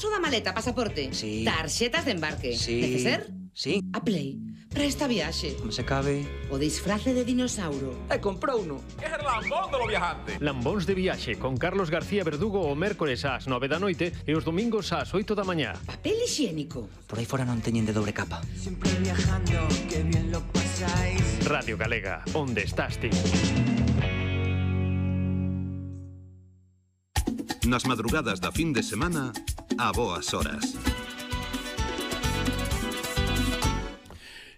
Paso da maleta, pasaporte. Sí. Tarxetas de embarque. Sí. Neceser? Sí. A Play. Para esta viaxe. Se cabe. O disfrace de dinossauro. Comprou uno. É Lambón do viajante. Lambóns de viaxe con Carlos García Verdugo o mércores ás 9 da noite e os domingos ás 8 da mañá. Papel higiénico. Por aí fora non teñen de dobre capa. Siempre viajando, que bien lo pasáis. Radio Galega, onde estás ti? Nas madrugadas da fin de semana, a boas horas.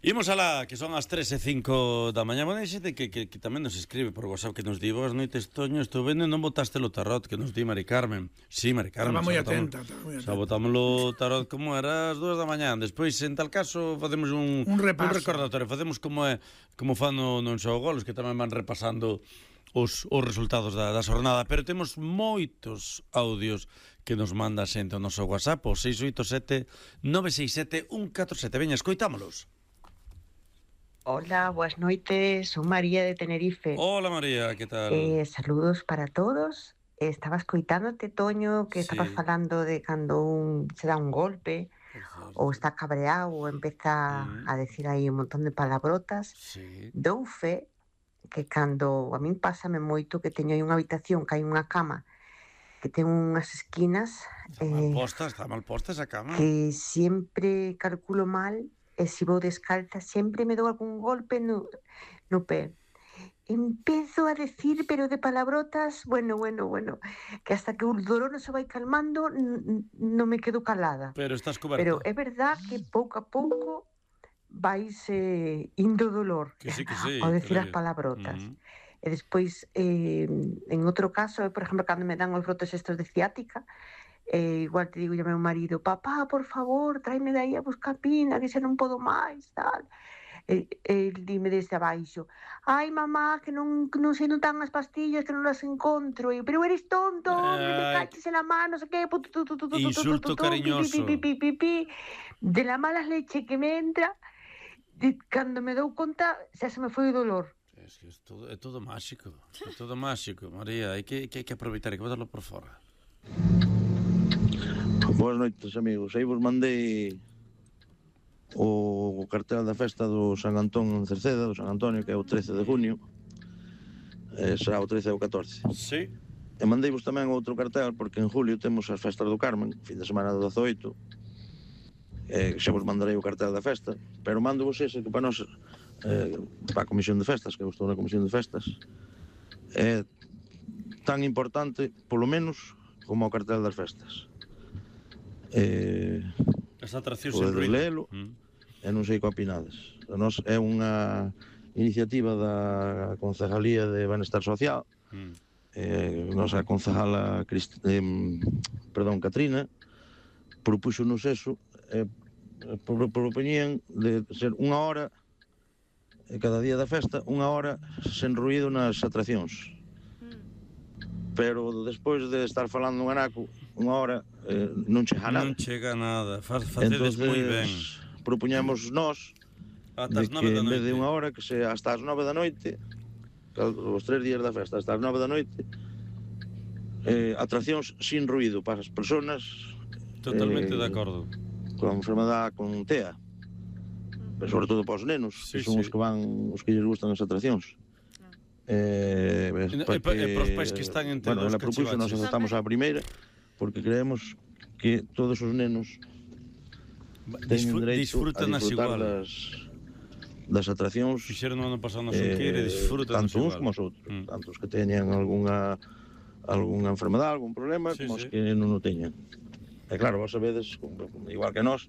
Imos alá, que son as 3:05 da mañá. Bueno, hai xente que tamén nos escribe por WhatsApp, que nos di: boas noites, Toño, estou vendo e non botaste o tarot, que nos di Mari Carmen. Sí, Mari Carmen. Estaba moi atenta. Xa botámoslo tarot como era as 2 da mañá. Despois, en tal caso, facemos un recordatorio. Facemos como fan non só golos, que tamén van repasando os resultados da xornada. Pero temos moitos audios que nos manda xente ao noso WhatsApp, o 687 967 147. Veña, escoitámolos. Hola, buenas noites, soy María de Tenerife. Hola María, ¿qué tal? Saludos para todos. Estaba escoitándote, Toño, que estabas falando de cando se da un golpe ou está cabreado ou empeza a decir aí un montón de palabrotas. Dou fe que cando a min pásame moito que teño aí unha habitación que hai unha cama que ten unhas esquinas Está mal posta esa cama. que sempre calculo mal. E se vou descalza sempre me dou algún golpe no pé. Empezo a decir, pero de palabrotas, bueno, que hasta que o dolor non se vai calmando non me quedo calada. Pero estás coberta. Pero é verdad que pouco a pouco vais indo dolor que sí, ao decir as palabrotas. E despois, en outro caso, por exemplo, cando me dan os brotes estos de ciática, igual te digo yo ao meu marido: papá, por favor, tráeme de aí a buscapina, que xa non podo máis, tal. El dime desde abaixo: ai, mamá, que non sei non tan as pastillas, que non las encontro. E, pero eres tonto, que te caches en la mano, non sei que, insulto cariñoso. De la mala leche que me entra, cando me dou conta, xa se me foi o dolor. É todo máxico, María, hai que aproveitar, hai que botarlo por fora. Boas noites, amigos. Aí vos mandei o cartel da festa do San Antón en Cerceda, do San Antonio, que é o 13 de junio. Será o 13 ou 14. Sí. E mandei vos tamén outro cartel, porque en julio temos as festas do Carmen, fin de semana do 18. Xa vos mandarei o cartel da festa, pero mando vos ese, que para nós, para a comisión de festas, que eu estou na comisión de festas, é tan importante, polo menos, como o cartel das festas. As atraccións en ruído. Lelo, e non sei que opinades. Nos é unha iniciativa da Concejalía de Benestar Social. Nosa concejala Catrina propúxonos eso, propoñían de ser unha hora cada día da festa, unha hora sen ruído nas atraccións. Pero despois de estar falando un anaco unha hora, non chega nada. Non chega nada, facedes moi ben. Propoñemos nós de que en vez de unha hora, que sea hasta as 9 da noite, os 3 días da festa, hasta as 9 da noite, atraccións sin ruído para as persoas totalmente de acordo con enfermedade, con TEA, pero sobre todo para os nenos, que son os que van, os que lles gustan as atraccións. E para os pais que están entre os cachivaches. Nós aceptamos a primeira porque creemos que todos os nenos teñen dereito a disfrutar das atraccións. Fixeron no ano pasado no Xunqueira e disfrutan tanto uns como os outros, tanto os que teñen algunha enfermedade, algún problema, como os que non o teñen. E claro, vos sabedes, igual que nós,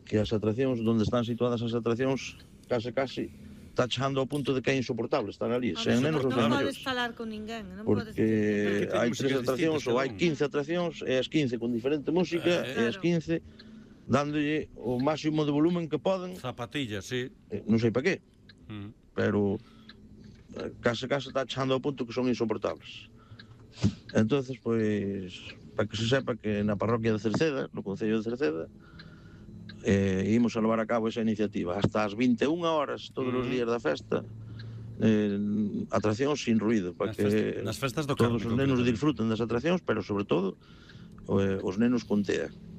que as atraccións, onde están situadas as atraccións, case está chegando ao punto de que é insoportable estar ali, sen nenos ou sen maiores. Non podes falar con ninguén, non podes porque hai 3 atraccións ou hai 15 atraccións, e as 15 con diferente música, e as 15 dándolle o máximo de volumen que poden. Zapatillas, sí. Non sei para qué, pero case está chegando ao punto que son insoportables. Entonces, pois, para que se sepa que na parroquia de Cerceda, no concello de Cerceda, imos a levar a cabo esa iniciativa hasta as 21 horas todos os días da festa, atraccións sin ruído, para que nas festas do todos os nenos disfruten das atraccións, pero sobre todo os nenos con TEA.